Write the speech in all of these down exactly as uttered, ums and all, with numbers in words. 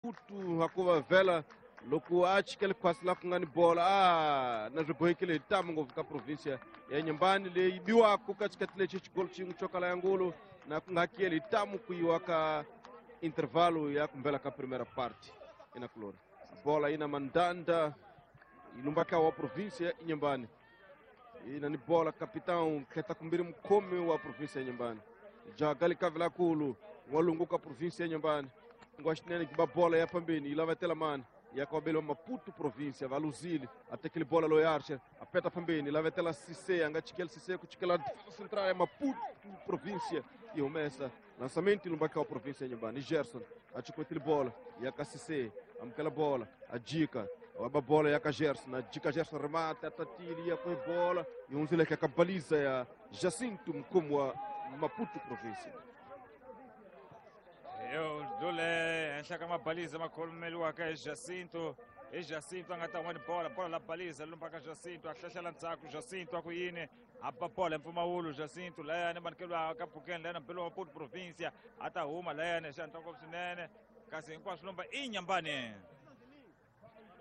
Maputo hakuva vhela loko a chikele khwasi la ku nga ni bola a na swi bohekile hi tamu ngopfu ka provinsia ya Nyembani leyi biwaka ka xikati lexi xigolo xin'we xo kala ya ngulu na ku nga hakeli hi tamu ku yiwa ka intervalo ya kumbela ka primera parte inakulori bola ina mandanda ilumbaka wa provinsia ya Nyembani ina ni bola capitão kheta kumbiri mukhomi wa provinsia ya Nyembani jaga likavelakulu n'walungu ka provinsia ya Nyembani ngwaxinene ki ba bola ya pambeni yi lavetela mani ya kwabelo Maputo província valuzile atekele bola loyi Archer apeta pambeni lavetela Cissé anga chikela Cissé ku chikela defesa central ya Maputo província e humesa lançamento lumbaka wa província ya Nyembani Gerson achikwetile bola ya ka Cissé amukela bola ajika waba bola ya ka Gerson ajika Gerson remata atatili ya kwa bola yunzile ka baliza ya Jacinto mkomo wa Maputo província. Yo dole henhla ka mabaliza makhomeliwaka hi Jacinto hi Jacinto a nga ta n'wani bola bola la baliza lumba ka Jacinto a hlahlela ndzhaku Jacinto a ku yini a ba bola hi mpfumawulo Jacinto layani manikeliwa ka Phukeni layani mpelo wa Maputo província a ta huma layani xi hatla ngopfu swinene kasi hinkwaswo lumba i Nyambani.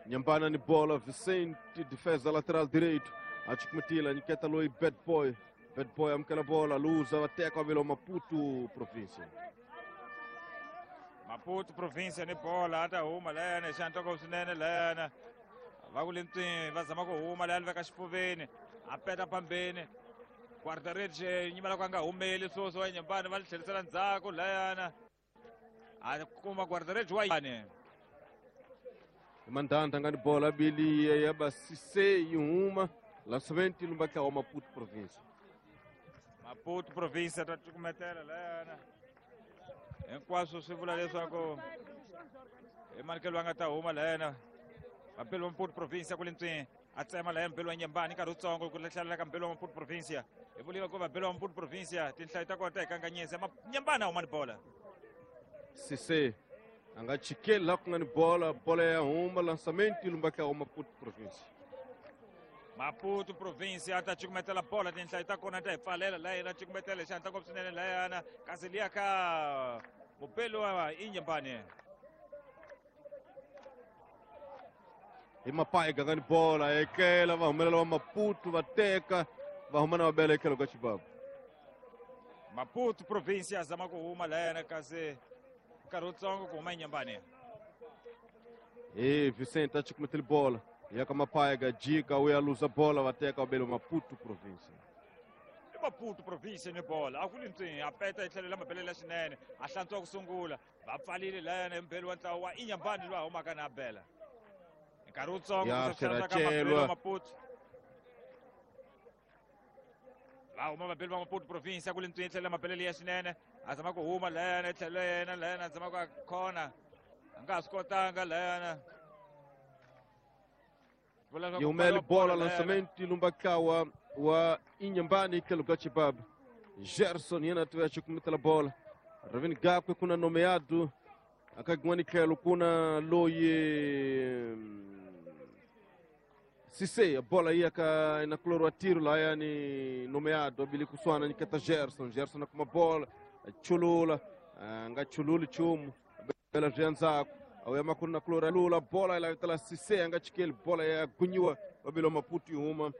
Nyambana ni bola Vicente defesa lateral direito a chikumatila nyiketa loyi bad boy bad boy amukela bola luza va teka velo Maputo província. Maputo província ni bola a ta huma layani xi hatla ngopfu swinene layani va ku lentswini va zama ku huma layani veka xifuveni a peta phambeni guarda-redes nyimela ku a nga humeli swoswi wa Nyembani va li tlherisela ndzhaku layani a kuma guarda-redes wa yani Mandanda nga ni bola bili ya ba Cissé yi huma lançamento lumbaka wa Maputo província. Maputo província ta cukumetela layani hinkwaswo swi vula leswaku i manikelo a nga ta huma layena vapeli wa Maputo província ku lentswini a tsema laya mpelo wa Nyembani nkarhi wutsongo ku hlalela ka mpelo wa Maputo província hi vuliwa ku vapeli wa Maputo província tinhlayo ta kona ta hi kanganyisa Nyembani a huma ni bola. Cissé a nga chikeli laha ku nga ni bola bola ya huma lançamento lumbaka wa Maputo província. Maputo província a ta cukumetela bola tinhlayo ta kona ta hi pfalela layena cukumetela xi hatla ngopfu swinene layana kasi liya ka mupeli wa Inyembani hi Mapai ganga ni bola ekela va humelela wa Maputo va teka va huma na va bela etlhelo ka xibabu. Maputo província zama ku huma layana kasi nkarhi wutsongo ku huma Inyembani. E Vicente a cukumetele bola ya ka Mapaiga jika uya luza bola va teka va bela Maputo província. I Maputo província ni bola a ku lintswini a peta hi tlhelo la mabelela swinene a hlantswa ku sungula va pfalile layana hi mbheli wa ntlawa wa Inyambani loyi a humaka na bela nkarhi wutsongo ka mabelo wa Maputo va huma vabeli va Maputo província ku lintswini tlhelo la mabelele ya swinene a zama ku huma layana tlhelo yena layana a zama ku a khona a nga ha swi kotanga layana yi humele bola lançamento lumbaka wa wa Inyambani tlhelo ka xibabu Gerson yena tiva xikumitela bola Ravini gakwe kuna nomeado akagwani tlhelo kuna loyi Cissé bola iya ka inakuloro wa tiro layani nomeado abili kuswana nyiketa Gerson Gerson akuma bola chulula nga chululi chumu bela zvianzaku awuya makulu na kulora lula bola ila Cissé anga chikeli bola ya gunyiwa wabilo Maputo ihuma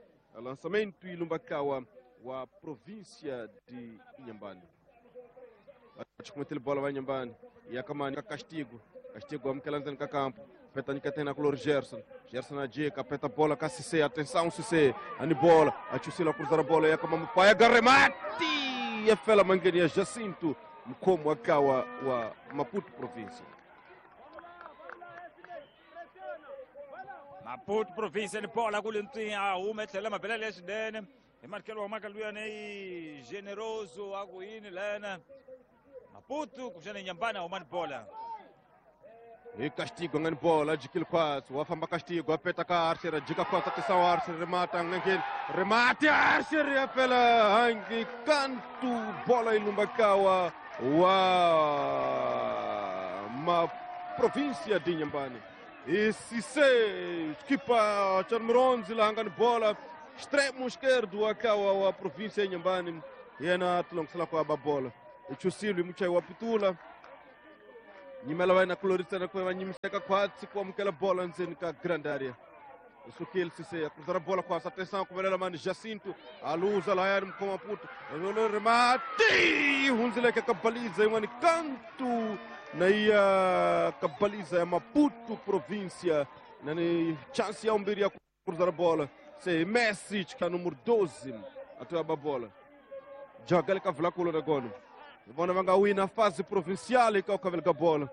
lançamento ilumbakawa wa província de Inhambane achikumetele bola wa Inhambane yakamani ka Castigo Castigo amukela ka campo peta nyiketena kulori Gerson Gerson ajika peta bola ka Cissé atenção Cissé ani bola achusila cruzar a bola yakama Mupaya garemati yafela mangeni ya Jacinto mkomo akawa wa Maputo província. Maputo província ni bola ku lentswini a huma tlhela mabelele ya swinene hi manikelo wa maka luyani i Generoso a ku yini layana Maputo kuxana Nyambani a huma ni bola hi Castigo nga ni bola jikile khwatsi wa famba Castigo a peta ka Archer a jika khwatsi a tisa Archer remata ngangeni remati Archer ya fela hangi kantu bola ilumbakawa wa ma província de Inhambane. E Cissé, equipa Charmeronzi lá ngani bola extremo esquerdo akawa wa província ya Inhambane yena tulongisela kwa ba bola ichusilo imuchai wa pitula Nyimela va na kulorisana ku va nyimiseka khwatsi ku amukela bola ndzeni ka grand area. Sukil Cissé a cruzar a bola quase, atenção, kuvelela mani Jacinto, aluza lá com Maputo, remate, hunzileka kabaliza yin'wani kantu na iya kabaliza ya Maputo província, nani chance ya umbiri ya cruzar a bola, se Messi ka número doze, atoa bola. Joga kavula kulo na gono. Vona va nga wina fase provincial ka ukavela bola.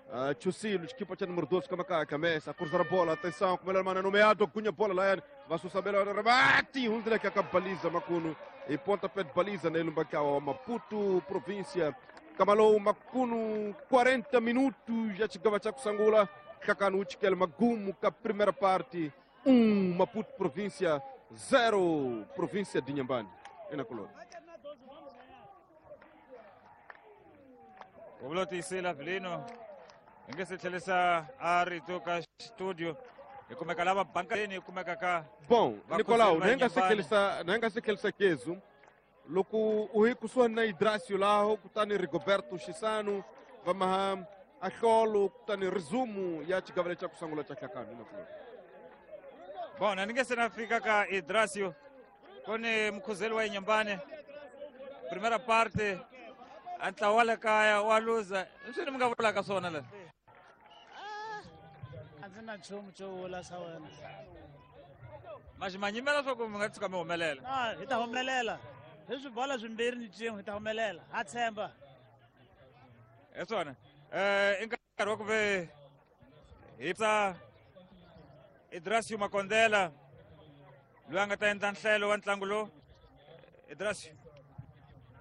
Uh, Chusilo, equipa cha número doze, Kamaka, Messi, a cruzar a bola, atenção, como ele manda nomeado, cunha bola lá, vai Susabela, rebate, um dele que acaba baliza, Macuno, e pontapé de baliza nele, Mbacau, Maputo, província, Camalou, Macuno, quarenta minutos, já chegava a Sangula, Kakanuchi, que é Magumo, que a primeira parte, um, Maputo, província, zero, província de Inhambane, e na colônia. O Blotisila Vilino. Inge se tlhelisa a rito ka studio hi kumeka lava bankeni hi kumeka ka bom Nicolau nem nga se tlhelisa nem nga se tlhelisa kezu loko u hi kusuhani na Idracio laho kutani Rigoberto Chisano va maha ahlolo kutani resumo ya xigavele xa ku sungula xa Hlakani na ku bon ni nge se na fika ka Idracio kone mkhuzeli wa Inhambane primeira parte a ntlawa wa le kaya wa luza swi ni mi nga vulaka swona la a ndzi na nchumu xo vula swa wena maxi ma nyimela swa ku mi nga tshuka mi humelela a hi ta humelela hi swibola swimbirhi ni cin'we hi ta humelela ha tshemba hi swona um i nkarhi wa ku ve hi psa Idracio Makondela loyi a nga ta endla nhlelo wa ntlangu lowu Idracio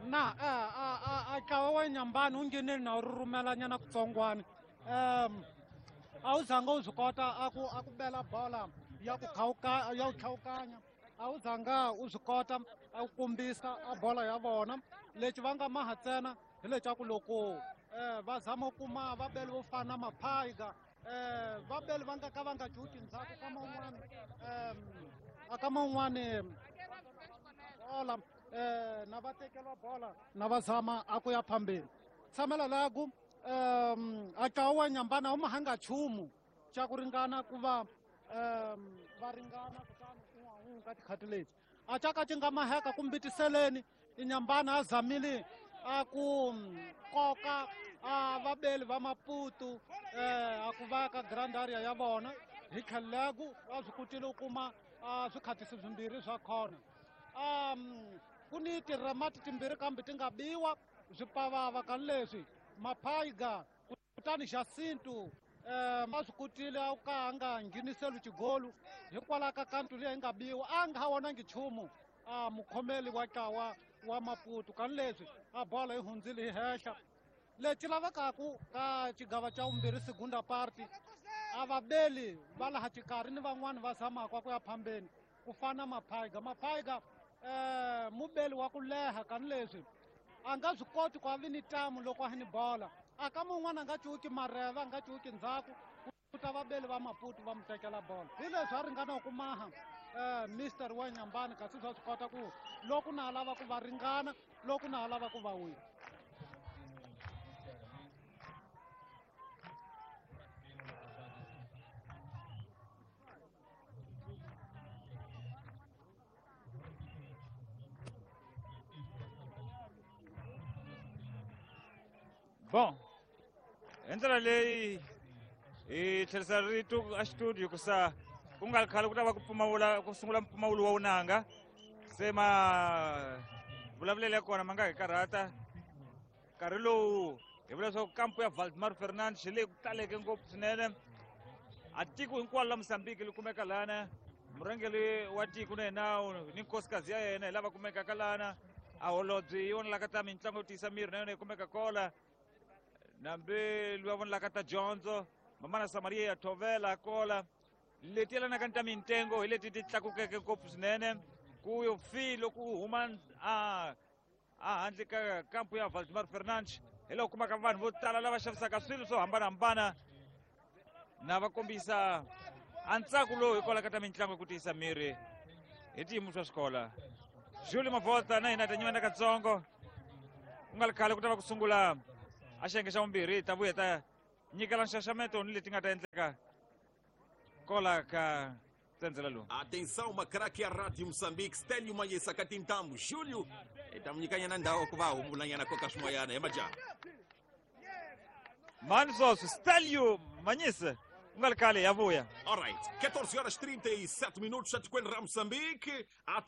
na a a ntlawa wa Inhambane wu nghenile na wu rhumelanyana kutsongwana um a wu zanga wu swi kota a ku a ku bela bola ya ku khawuka ya ku tlhawukanya a wu zanga u swi kota a ku kombisa a bola ya vona lexi va nga maha ntsena hi leswaku loko um va zama ku kuma vabeli vo fana na Maphaiga um vabeli va nga ka va nga cuki ndzhaku ka man'wani um a ka man'wani bola eh na va tekela bola na va zama a ku ya phambeni tshamela la ku um a ntlawa wa Inhambane a wu mahanga nchumu xa ku ringana ku va um va ringana kutani un'we ka tikhati leti a caka ci nga maheka kumbitiseleni Inhambane a zamile a ku koka a vabeli va Maputo eh a ku va ka grand area ya vona hi tlhelo laku va swi kotile ku kuma a swikhatisi swimbirhi swa corner um ku ni tiremati timbirhi kambe ti nga biwa swipavava ka leswi Maphaiga kutani Jacinto um a swi kotile a ka a nga ngheniseli xigolu hikwalaho ka kantu leyi nga biwa a nga ha vonangi nchumu a mukhomeli wa ntlawa wa Maputo kani leswi a bola yi hundzile hi henhla lexi lavekaku ka xigava xa vumbirhi segunda party a vabeli va laha xikarhi ni van'wani va zamaka ku ya phambeni ku fana Maphaiga Maphaiga eh mubeli wa ku leha kani leswi a nga swi koti ku a vi ni tamu loko a ni bola a ka mun'wana a nga cuki mareva a nga cuki ndzhaku ku ta vabeli va Maputo va mu tekela bola hi leswi a ringana ku maha eh mister wa Inhambane kasi swa swi kota ku loko na ha lava ku va ringana loko na ha lava ku va wina. Bom, hi ndlela leyi hi tlherisa rito a studio ku sa ku nga ri khale ku ta va ku pfumawula ku sungula mpfumawulo wa vunanga se ma vulavulelo ya kona ma nga hi karhata nkarhi lowu hi vula leswaku kampu ya Valdemar Fernandes leyi ku taleke ngopfu swinene a tiko hinkwalo la Mozambique li kumeka lana murhangeri wa tiko na yena ni nkosikazi ya yena hi lava kumekaka lana a holobye yi vonelaka ta mitlangu yo tiyisa miri na yona yi kumeka kola nambe luya vonelaka ta dyondzo mamana Samaria ya Thovela kola leti yelanaka ni ta mintengo hi leti ti tlakukeke ngopfu swinene ku yo fi loko u huma a a handle ka kampu ya Valdemar Fernandes hi laha u kumaka vanhu vo tala lava xavisaka swilo swo hambanahambana na va kombisa a ntsako lowu hikwalaho ka ta mitlangu ku tiyisa miri hi tiyimo swa swikola Julie Mavota na hina ta nyimana katsongo ku nga ri khale ku ta va ku sungula a xiyenge xa vumbirhi ta vuya ta nyikela nxaxameto ni leti nga ta endleka kola ka tsendzela lowu. Atenção, Macraque, a Rádio Moçambique, Stélio Manhesa Katintambo, Júlio, etamunyikanyana ndhawu ku va humbulanyana koka swimoyana hi majaha. Mani swoswi Stelio Manyisa ku nga ri khale ya vuya. Alright, catorze horas trinta e sete minutos, etikweni ra Moçambique. Atenção.